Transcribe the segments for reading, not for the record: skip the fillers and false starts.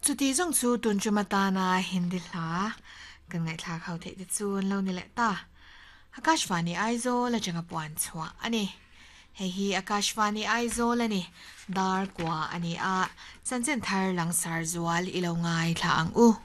Chuti zawng chu tun tum atana Hindi hla kan ngaihthlak ho theih te chu an lo ni leh ta. Akashvani Aizawl atanga puan chhuah a ni. Hei hi Akashvani Aizawl a ni. Dar kua a ni a, chanchin thar langsar zual i lo ngaithla ang u.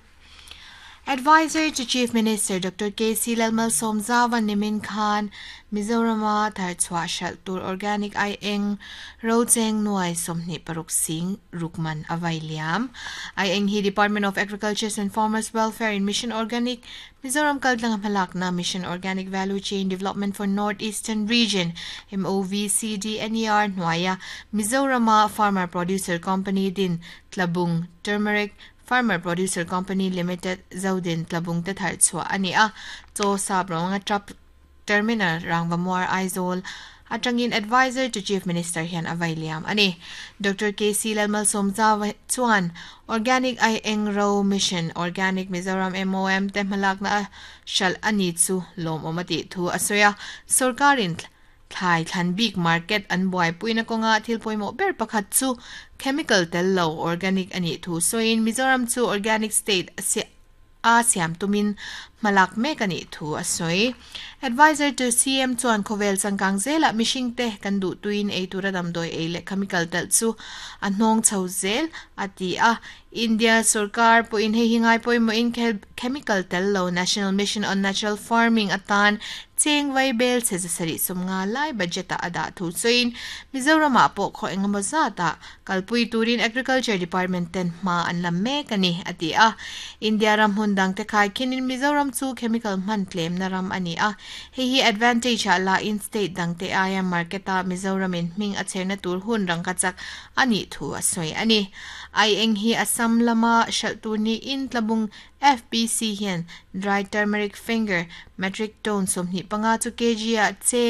Adviser to Chief Minister Doctor KC Lalmalsawmzauva nimin khan Mizorama tharchhuah hralh tur organic ai eng rocheng nuai 26 sing rukman a vai liam. Ai eng hi Department of Agriculture and Farmers Welfare in Mission Organic Mizoram kaltlanga hmalakna Mission Organic Value Chain Development for North Eastern Region MOVCDNER hnuaia Mizorama Farmer Producer Company din Tlabung Turmeric Farmer Producer Company Limited Zodin Tlabung te thar chhuah a ni a, chaw sap rawnga truck terminal Rangvamuar Aizawl atangin Adviser to Chief Minister hian a vai liam a ni. Doctor KC Lalmalsawmzau chuan Organic Ai Eng Ro Mission Organic Mizoram MOM te hmalakna a hralh a ni chu lawmawm a tih thu a sawi a, sorkarin Thlai thlan bik market an buaipuina kawnga thil pawimawh ber pakhat chu chemical tel lo organic a nih thu sawiin Mizoram chu organic state a siam tumin hmalak mek a nih thu a sawi. Adviser to CM chuan khawvel changkang zelah mihringte kan duh tuin ei tura damdawi ei leh chemical telh chu a hnawng chho zel a ti a. India sorkar pawhin hei hi ngai pawimawhin chemical tel lo National Mission on Natural Farming atan Cheng vai bel chhe 750 lai budget ah a dah thu sawiin Mizoram-ah pawh khaw engemaw zatah kalpui turin Agriculture Department ten hma an la mek a ni, a ti a. India ram hmun dangte khaikhinin Mizoram chu chemical hman tlemna ram a ni a, hei hi advantage ah lain state dangte aia market-ah Mizoramin hming a chherna tur hun rangka chak a nih thu a sawi a ni. Aieng hi Assam lama hralh tur niin Tlabung FPC hian dry turmeric finger metric ton 25 chu kg ah cheng.